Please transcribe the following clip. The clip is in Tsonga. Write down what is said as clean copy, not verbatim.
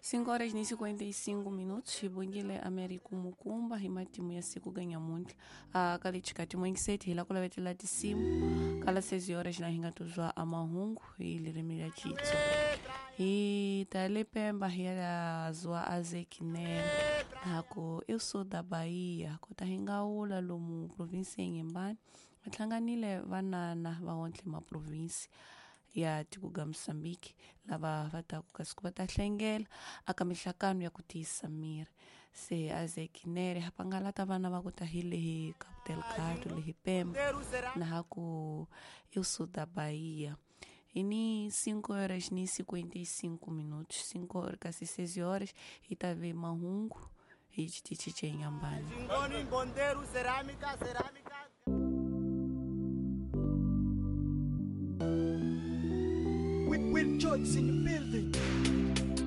5 horas ni 55 minutos hi bongile America Mukumba hi matimu ya siku ga nyamuntlha ka lechikati mwengiseti hi la ku lavetela tisimu kala 6 horas na hi nga tuzwa a mahungu hi lirimi ra Xitsonga hi ta le Pemba hi ya zwa a Zekinene hako eu sou da Bahia kota hi nga wula lomu provinsi ya Inhambane va hlanganile vanana va wontle maprovinsi ya tiko ga Mozambique lava va taku kasi ku va ta hlengela aka mihlakano ya ku tiyisa miri se a Zekinere hapangalata vana va ku ta hi lehi Cabo Delgado lehi Pemba na ha ku eu sou da Bahia hi ni 5 horas ni 55 minutos 5 horas kasi 6 horas hi ta ve mahungu hi xitichi xa Inhambane. Ngoni Mbonderu Cerâmica Cerâmica. With George in the building.